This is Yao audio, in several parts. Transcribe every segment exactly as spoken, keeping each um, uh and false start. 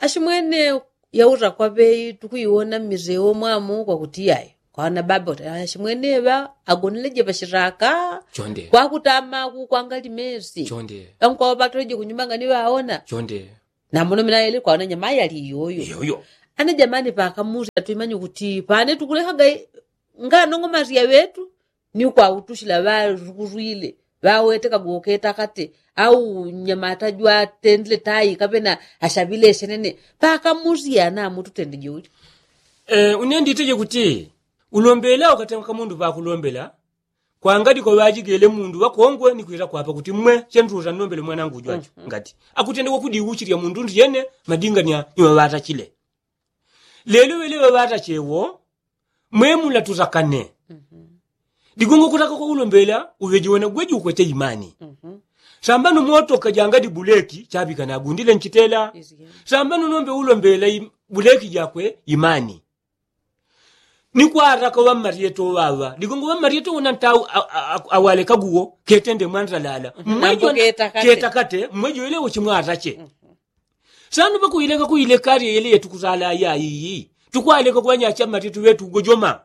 Ashimwene yauta kwaŵe tukuiwona mmisewo mwamu kwakuti yayi kwaona baba uti ashimwene ŵa agoneleje pashitaka. Kwakutama kukwanga limesi. Ŵankwawo ŵatoleje kunyumba ngani ŵaona. Namuno minaele kwaona nyama yali iyoyo. Ana jamani pakamusya twimanye kuti pane tukulekaga nganong'omasya ŵetu ni kwautushila ŵalukulwile ŵawetekaga uketakate au nyamata jwatendile tai kapena ashaŵile shenene. Pakamusya namututendeje uli. Une nditeje kuti ulombela ukatenga kamundu pakulombela kwangadi kwaŵajigele mundu ŵakongwe ni kwila kwapa kuti mmwe chenduta nnombele mwanangu jwacho ngati akutendekwa kudiuchilya mundu ndiyene madingania iŵaŵatachile. Lelo ŵele ŵaŵatache wo mwemula tutakane. Digongo kutaka kwaulombela uŵeje wena gweji ukwete imani. Sambano motoka jangadi buleki chaŵika nagundile nchitela. Sambano nombe ulombela buleki jakwe imani. Ni kwataka ŵammaryeto ŵaŵa digongo ŵammaryeto wona nta awalekaguwo ketende mwantalala. Mwejo ketakate mwejo yelewo chimwatache. Sanu ŵakuileka kuileka alye yele yetukusala ayayi. Tukwaleka kuŵanyacha mmaryeto ŵetu ugojoma.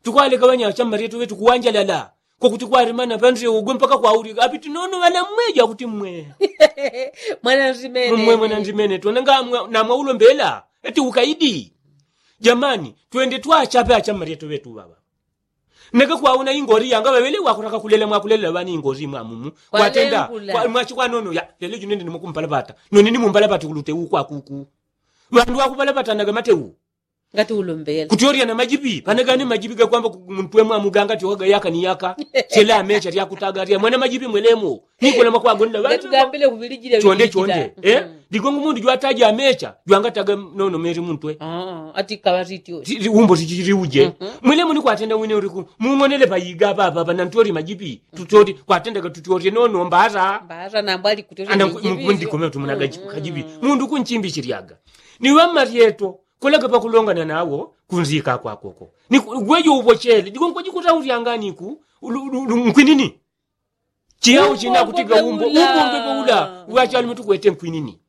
Tukwaleka ŵanyacha mmaryeto ŵetu kuwanjalala. Kwakuti kwalemana pansewo gwe mpaka kwaulika apiti nono ŵana mmwejo akuti mmwe. Mwanandimene tona ngamwaulombela eti ukaidi. Jamani twende twachape acha mmaryeto ŵetu ŵaŵa. Neka kwauna ingori yanga ŵaŵele wakutaka kulela mwakulelela ŵani ingori mwamumu kwatenda. Mwachi kwanono ya lelo junende nimwakumpalapata none nimumpalapati kulute ukwakuku. Ŵandu ŵakupalapatanaga mateu. Ngati ulombela kutyoryana majipi panagane majipi gakwamba muntwe mwamuganga tyokaga yaka ni yaka. Sela amecha lyakutaga lya mwana majipi mwelemo. Nikola makwagonela ŵandu chonde chonde. Digongo mundu jwataja amecha jwangataga nono meri muntwe. Ati kaŵatityo umbo tichiliuje. Mwelemo nikwatenda wine uliku mung'onele payiga papapa nantyoli majipi tutyoli kwatendaga tutyolye nono mbata. Ndikomela tumonaga kajipi mundu kunchimbi chilyaga. Ni ŵammaryeto kulaga pakulongana nawo kunzika kwakoko. Ni gwejo upochele digongo kwajikutaulyanganiku nkwinini. Chiyau china kutiga umbo umbo mbepe ula uŵachalume tukwete nkwinini.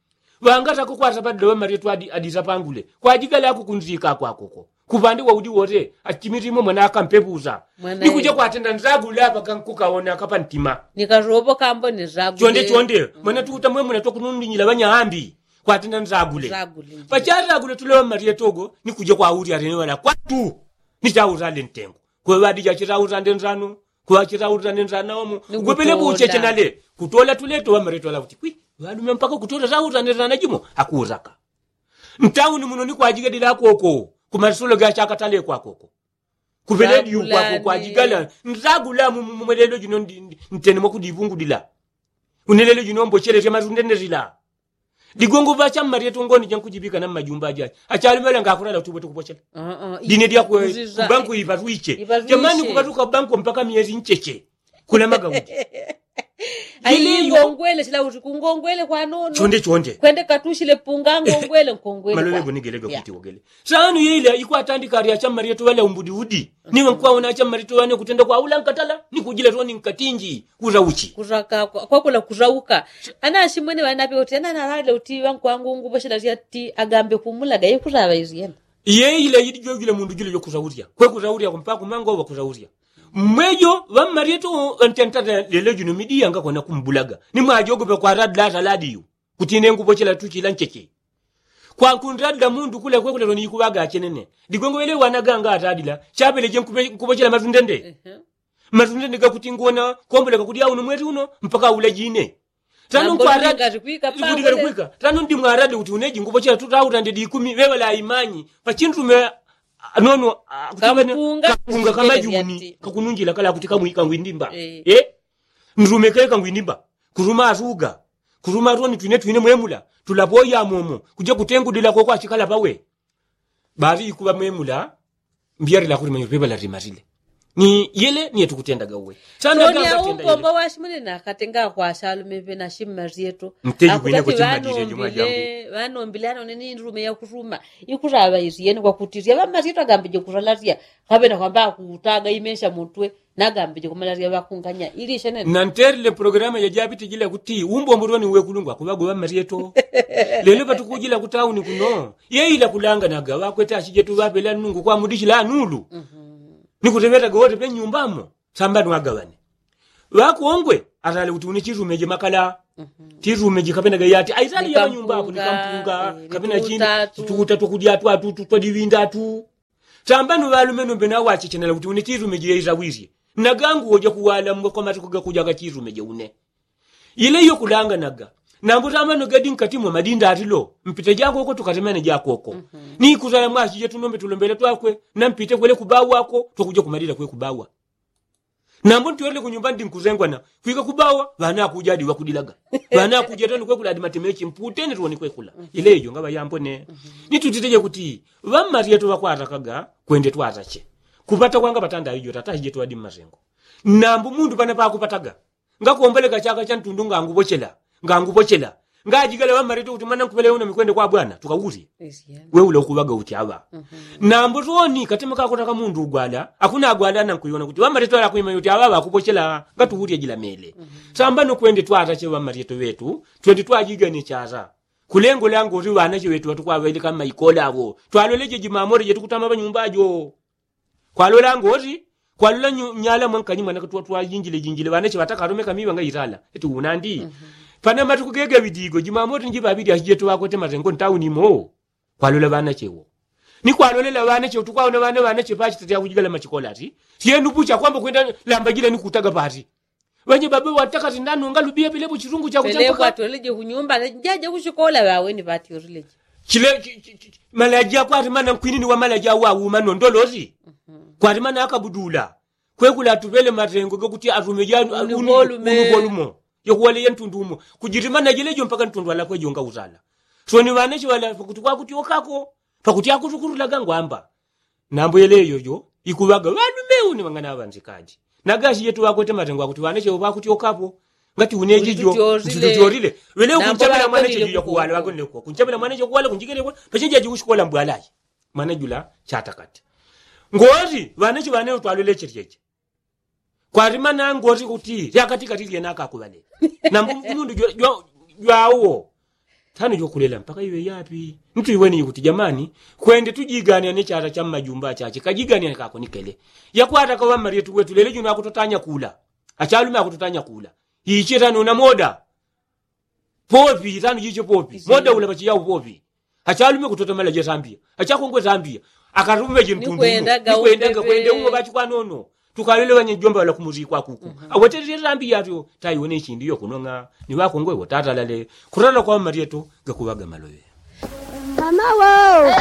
Ŵangatako kwatapadila ŵammaryeto adisapangule kwajigala kukunzika kwakoko. Kupande waudi wote achimirimo mwana akampepusa. Nikuja kwatenda nzagula paka nkukaona kapantima. Chonde chonde mwana tukuta mwemuna twakunundinyila ŵanya ambi. Kwatenda nzagule pachazagule tuleŵa mmalyetogo. Nikuja kwaulya lene ŵala kwatu nichaulale ntengo. Kweŵadija chitaulande nzano kweŵachitaulande nzano ŵamo. Ugwepele kucheche nale kutola tuleto ŵamaletola kuti kwi ŵalume mpaka kutola taulande nzano jimo. Akuuzaka ntauni muno nikwajigadila akoko. Kumasolo gachakatale kwakoko. Kupeledi ukwako kwajigala nzagula mumwelelo jino ntene mwakudivungudila. Unelelo jino mbochele fya matundendesila. Digongo ŵacha mmalyeto ngoni jankujibika na mmajumba ajache achalumela ngakulala utubwe tukupochela. Dine dyakwe kubanko ipatwiche. Jamani kupatuka banko mpaka myezi ncheche. Kuna magaudi. Ayi ngongwele chila uti kungongwele kwanono chonde chonde kwende katushile punga ngongwele nkongwele malole gonigelega kuti wogele. Sanu yila ikwatandika ali acha mmalyeto ŵale umbudiudi. Niŵa nkwaona acha mmalyeto ŵane kutenda kwaula nkatala nikujila toni nkatinji. Kuzauchi kuzaka kwakula kuzauka. Ana ashimwene ŵanape uti ana analale uti ŵankwangu nguposhela tyati agambe kumulaga yekutaŵa izyena. Yeyila yili jojule mundu jule jokuzaulya kwekuzaulya kumpaka kumango ŵakuzaulya. Mmwejo ŵammalyeto ntentata lelo jino midiya ngakona kumbulaga. Nimwajogope kwaradila ataladiyu kuti ine ngupochela tuchila ncheche. Kwankunradila mundu kule kwekule loni ikuŵaga achenene. Digongo ŵele ŵanaganga atadila chapeleje nkupochela matundende. Matundende gakuti ngona komboleka kudya uno mweli uno mpaka ule jine. Tano nkwaradi kuti kalikwika tano ndi mwaradi kuti uneji ngupochela tutautande dikumi ŵeŵala imanyi pachindume. Nono kakunga kamajuni kakununjila kala kuti kamwika ngwindimba. Ndulumekele kangwindimba. Kuluma atuga kuluma atoni twine twine mwemula tulapoya momo kuja kutengudila koko achikala pawe. Bali ikuŵa mwemula mbyalila kuti manyo peŵala timatile. Ni yele niye tukutendaga uwe. Sana so ni aumbo mbo washimune na katenga kwa shalume pe na shimma zyetu. Mteji kwine kuchimadire juma jangu. Vanombile ano nini ndurume ya kuruma ikurava izi yeni kwa kutiria vamma zyetu agambe je kuralaria. Kabe na kwamba kutaga imesha mutwe nagambe je kumalaria vakunganya ili shenene. Na nterile programa ya jabiti jila kuti umbo mburoni uwe kulungwa kuvago vamma zyetu. Lelo patukujila kutauni kuno yeila kulanga naga vakwete ashijetu vapela nungu kwa mudishila nulu. Ni kutevetaga wote pe nyumbamo. Sambani wagawane ŵakongwe atale kuti une chirumeje makala. Chirumeje kapena gayati aitale ya manyumba apo ni kampunga kapena chini tukuta twakudyatu atutu twadiwindatu. Sambani ŵalume nombe nawachechenela kuti une chirumeje yaitawisye nagangu woja kuwala mwe kwa matuku gakujaga chirumeje une. Ile iyo kulanganaga nambo tamano gadi nkati mwa madinda atilo mpite jakoko tukatemene jakoko. Ni kuzala mwachije tunombe tulombele twakwe nampite kwele kubawa ako twakuja kumalila kwe kubawa. Nambo ntiwele kunyumba ndi nkuzengwana kwika kubawa ŵana akuja adi wakudilaga ŵana akuja toni kwekula adi matemechi mputene tuwoni kwekula. Ile iyo ngaba yambone. Ni tutiteje kuti ŵammaryeto ŵakwarakaga kwende twatache kupata kwanga patanda iyo tatachijeto adi mmasengo. Nambo mundu pana pakupataga ngakomboleka chaka chantundu ngangupochela ngangupochela ngajigala ŵammaryeto kuti mwana nkupele uno mikwende kwa bwana tukawusye. Weula ukuŵaga uti aŵa nambo toni katima kakutaka mundu ugwala akuna agwala nankuiwona kuti ŵammaryeto alakwima uti aŵa ŵakupochela ngatuwulye jila mele. Sambano kwende twatache ŵammaryeto ŵetu twende twajigane chata. Kulengo lango uti ŵanache ŵetu ŵatukwaŵailika mmaikola awo twaloleje jimamore jetukutama ŵanyumba ajo. Kwalola ngoti kwalola nyala mwankanyi mwana katwatwajinjile jinjile ŵanache ŵatakaromeka miŵa ngaitala eti unandi. Pana matuku gegeŵidigo jimamoti njiŵaŵidi ashijetu ŵakwete matengo ntauni imo. Kwalola ŵanache wo ni kwalolela ŵanache utukwaona ŵana ŵanache pachita tyakujigala machikola ati tyenu pucha kwamba kwenda lambajila ni kutaga pati. Ŵanye baba ŵatakati ndanonga lubiya pelepo chitungu chakuchapaka. Pelepo atweleje kunyumba jaje kuchikola ŵaweni ŵatyorileje. Chile malaji akwati mana nkwinini wa malaji awauma nondolosi. Kwati mana akabudula kwekula atupele matengo gakuti atume janu unu volumo yakuwale ya ntundu umo. Kujiti mana jelejo mpaka ntundu alakwejo ngautala. Soni ŵanache ŵala pakuti kwakutyokako pakuti akutukurulaga ngwamba. Nambo yele yoyo ikuŵaga ŵalume une ŵang'ana ŵanzikaji. Nagashi jetu ŵakwete matengo akuti ŵanache ŵakutyokapo ngati unejijo ntitutyorile. Ŵele kunchemela mwanache juja kuwala ŵagonelekwa kunchemela mwanache kuwala kunjigelekwa pachenjeji kushikola mbwalayi. Mwana jula chatakati ngoti ŵanache ŵanewo twalweleche lyeche. Kwati mana ngoti kuti lyakatikati lyena akakuŵale. Nambo mundu jwawo tano jokulela mpaka iŵe yapi? Ntu iweni ikuti jamani kwende tujiganane chata cha mmajumba achache kajiganane kakonikele. Yakwataka ŵammalyetu wetu lelo juno akutotanya kula. Achalume akutotanya kula. Iche tano na moda popi tano jiche popi moda ula pachiya upopi. Achalume kutota malaje sambiya achakongwe sambiya. Akarume jintundu kwendaga kwende umo ŵachikwanono. Tukalele ŵanyejomba ŵala kumuzikwa kuku awetetetambi yatyo taiwone ichindi yokunong'a. Ni ŵakongwe wotatalale kutala kwa mmalyeto gakuŵaga maloŵe. Mama wo.